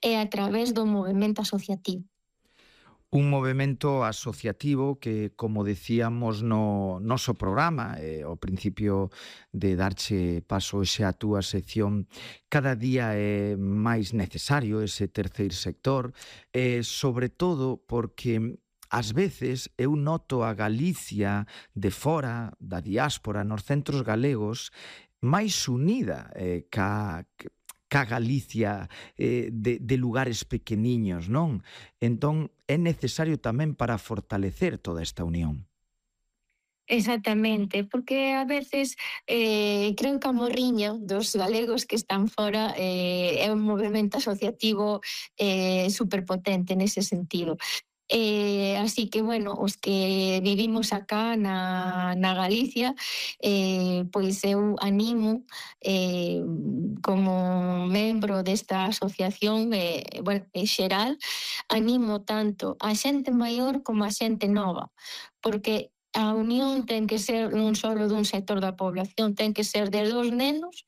é a través do movemento asociativo. Un movemento asociativo que, como decíamos no noso programa, ao principio de darche paso hoxe a túa sección, cada día é máis necesario ese terceiro sector, sobre todo porque ás veces eu noto a Galicia de fora, da diáspora, nos centros galegos, máis unida ca Galicia de lugares pequeniños, non? Entón, é necesario tamén para fortalecer toda esta unión. Exactamente, porque a veces creo que a morriña dos galegos que están fora é un movimento asociativo superpotente nese sentido. Así que, bueno, os que vivimos acá na Galicia, pois eu animo como membro desta asociación, bueno, en xeral, animo tanto a xente maior como a xente nova, porque a unión ten que ser non só dun sector da población, ten que ser de dos nenos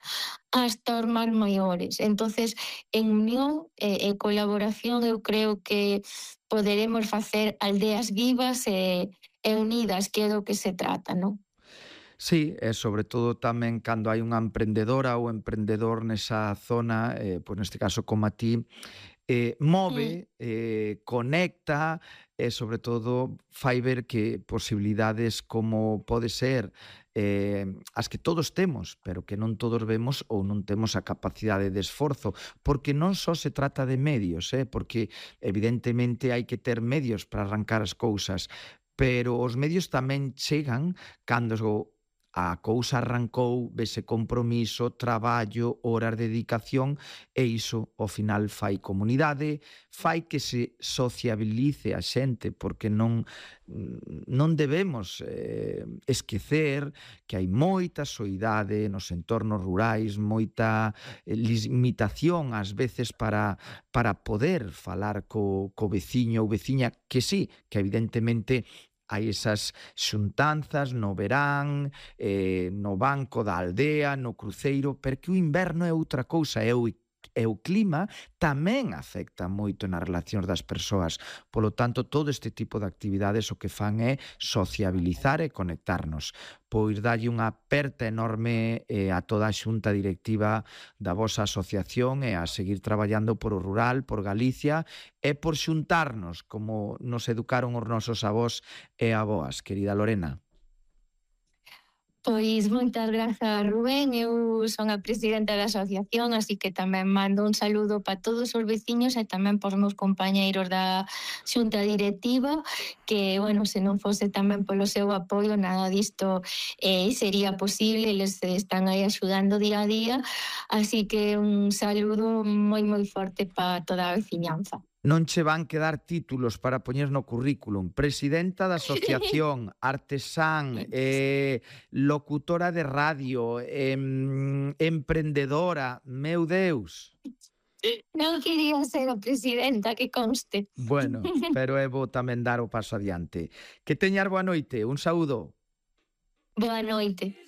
hasta os máis maiores. Entonces, en unión e colaboración, eu creo que poderemos facer aldeas vivas e unidas, que é do que se trata, non? Sí, e sobre todo tamén cando hai unha emprendedora ou emprendedor nesa zona, pois neste caso como a ti, move, conecta e sobre todo fai ver que posibilidades como pode ser as que todos temos, pero que non todos vemos ou non temos a capacidade de esforzo, porque non só se trata de medios, porque evidentemente hai que ter medios para arrancar as cousas, pero os medios tamén chegan cando a cousa arrancou, vese compromiso, traballo, horas de dedicación e iso ao final fai comunidade, fai que se sociabilice a xente, porque non debemos esquecer que hai moita soidade nos entornos rurais, moita limitación ás veces para poder falar co veciño ou veciña, que sí, que evidentemente hai esas xuntanzas no verán, no banco da aldea, no cruceiro, pero que o inverno é outra cousa, e o clima tamén afecta moito nas relacións das persoas. Polo tanto, todo este tipo de actividades o que fan é sociabilizar e conectarnos. Pois dalle unha aperta enorme a toda a xunta directiva da vosa asociación e a seguir traballando por o rural, por Galicia e por xuntarnos como nos educaron os nosos avós e avoas, querida Lorena. Pois moitas grazas, Rubén. Eu son a presidenta da asociación, así que tamén mando un saludo para todos os veciños e tamén para os meus compañeiros da xunta directiva, que, bueno, se non fose tamén polo seu apoio, nada disto sería posible, eles están aí axudando día a día, así que un saludo moi forte para toda a veciñanza. Non che van quedar títulos para poñer no currículum. Presidenta da asociación, artesán, locutora de radio, emprendedora, meu Deus. Non quería ser a presidenta, que conste. Bueno, pero é bo tamén dar o paso adiante. Que teñas boa noite, un saúdo. Boa noite.